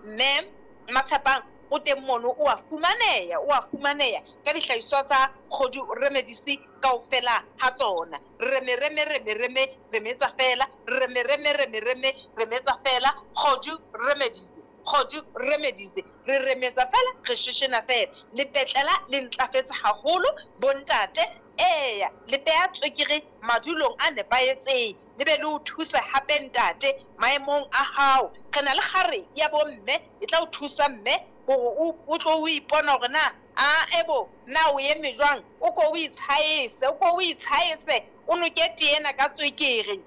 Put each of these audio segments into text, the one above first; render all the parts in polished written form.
Mme Matshepang o teng mono, o a fumaneha, o a fumaneha ka dihlahiswa tsa Kgodu Remedies kaofela ha tsona. Reme reme reme reme remetsa fela, reme reme reme reme remetsa fela, Kgodu Remedies, Kgodu Remedies, re remetsa fela, re sheshena fela. Lepetlela le ntlafetse haholo bontate, eya le beha tswekere madulong a nepahetseng, le be le o thuse hape ntate maemong a hao. Re na le kgare ya bomme e tla o thusa mme hore o tlo o ipona hore na a ebo na o eme jwang, o ko o itshaese, o ko o itshaese, o noke tee ena ka tswekere,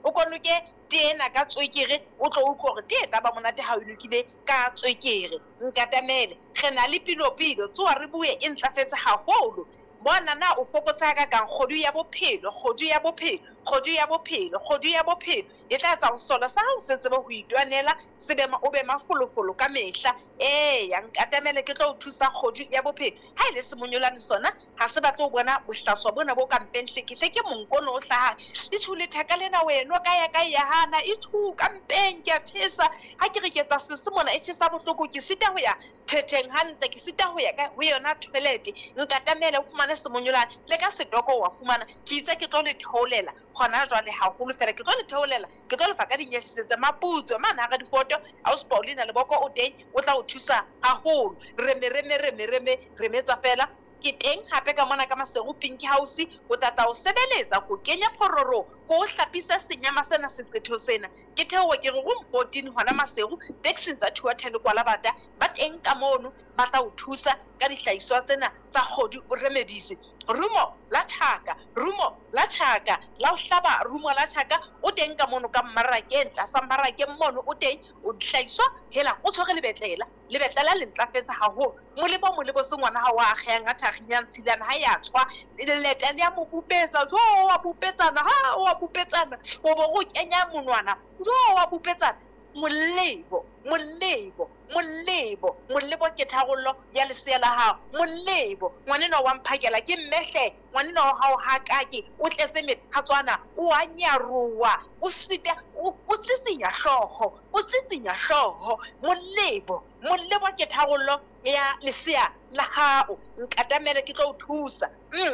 o ko noke tee ena ka tswekere, o tlo utlwa hore tee e tla ba monate ha o nokile ka tswekere. Nkatamele, re na le pilopilo, tsoha re bue e ntlafetse haholo. Bona na o fokotse hakakang kgodu ya bophelo, kgodu ya bophelo, kgodu ya bophelo, kgodu ya bophelo e tla etsa ho sola sa hao se tsebe ho itwanela, se be o be mafolofolo ka mehla. Eya, nkatamele ke tlo o thusa kgodu ya bophelo. Ha e le semonyolane sona ha se batle ho bona bohlaswa bona bo ka mpeng hlekehleke monko ono o hlahang. Itjhu letheka lena weno ka ya ka ya hana, itjhu ka mpeng ke a tjhesa. Ha ke re ke etsa sese mona e tjhesa bohloko, ke sita ho ya thetheng hantle, ke sita ho ya ka ho yona toilet. Nkatamele o fumane semonyolane le ka setoko wa fumana. Ke itse ke tlo le theolela hona jwale haholo fela, ke tlo le theolela, ke tlo lefa ka dinyesisetse maputswe mane hara difoto. Ausi Paulina Leboko o teng, o tla o thusa haholo. Reme reme reme reme remetsa fela. Ke teng hape ka mona ka Maseru Pink House, o tla tla o sebeletsa ko kenya phororo, ko o hlapisa senyama sena seqetho sena. Ke theoha ke re room 14 hona Maseru, taxing tsa Thuathele Kwalabata, ba teng ka mono ba tla o thusa ka dihlahiswa tsena tsa Kgodu Remedies. Rumo la tjhaka, rumo la tjhaka, la o hlaba rumo la tjhaka, o teng ka mono ka mmarakeng, tlasa mmarakeng mono o teng, o dihlahiswa hela o tshwere lebetlela, lebetlela le ntlafetse haholo. Molebo molebo se ngwana hao a akgehang a thakginyang tshilana ha ya tshwa, leleta le ya mo bupetsa, jo wa bupetsana, ha wa bupetsana, o bo o kenya monwana, jo wa bupetsana. Molebo, molebo, molebo, molebo ke tharollo ya lesea la hao. Molebo, ngwanenwa wa mphakela ke mmehle, ngwanenwa wa hao ha kake, o tletse methatswana, o a nyarowa, o sita, o tsitsinya hlooho, o tsitsinya hlooho. Molebo, molebo ke tharollo ya lesea la hao. Nkatamele ke tlo o thusa.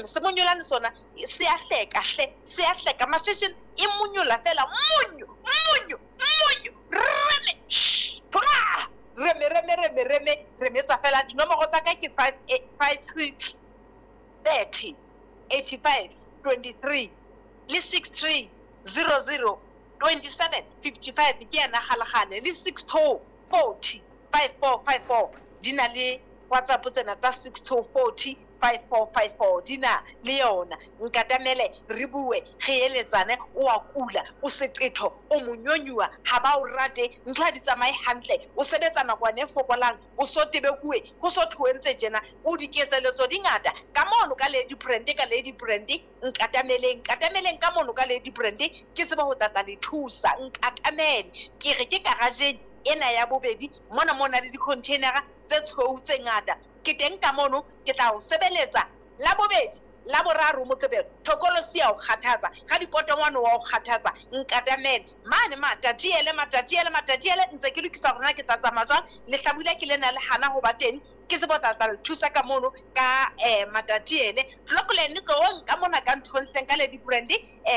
Semonyolane sona se a hleka hle, se a hleka. Mashesheng e monyola fela, monyo, monyo, monyo, reme, thola, reme, reme, reme, reme, remetsa fela. Dinomoro tsa ka ke 5 5 6 30 85 23 le 6 3 0 0 27 55 ke yena kgalekgale, le 6 2 40 5 4 5 4 di na le WhatsApp tsena tsa 6 2 40 5 4 5 4 di na le yona. Nkatamele re bue, re eletsane. O a kula, o seqetho, o monyonyuwa, ha ba o rate, ntho ha di tsamaye hantle, o sebetsa nakwana e fokolang, o so tebekuwe, ho so thoentse tjena, o diketseletso di ngata ka mono ka Lady Brand, ka Lady Brand. Nkatameleng, nkatameleng ka mono ka Lady Brand, ke tsebe ho tla tla le thusa. Nkatamele, ke re ke garageng ena ya bobedi mona mo na le di-containera tse tshweu tse ngata. Ke teng ka mono, ke tla o sebeletsa la bobedi, la boraro, Moqebelo. Thokolosi ya o kgathatsa, ga dipotongwane wa o kgathatsa. Nkatamele mane Matatiele, Matatiele, Matatiele, ntse ke lokisa hore na ke tla tsamaya jwang. Lehlabula ke lena le hana ho ba teng, ke tsebe ho tla tla le thusa ka mono ka Matatiele. Clockland tloong ka mona ka nthong hleng ka Lady Brand,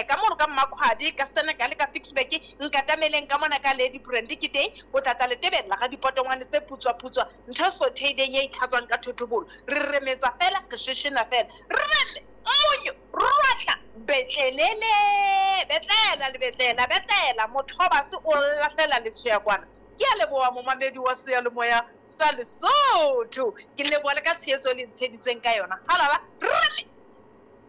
ka mono ka Mmakhwadi, ka Senegal, ka Ficksburg. Nkatameleng ka mona ka Lady Brand, ke teng ho tla tla le tebella ga dipotongwane tse putswa putswa, ntho sotheileng e itlhatswang ka thotobolo. Re remetsa fela, re sheshena fela, reme monyo rwatla betlelele, betlela le betlela, betlela mothobase o lahlela letshweya kwana. Ke a leboha momamedi wa seyalemoya sa Lesotho, ke leboha le ka tshehetso le ntsheditseng ka yona. Halala, reme.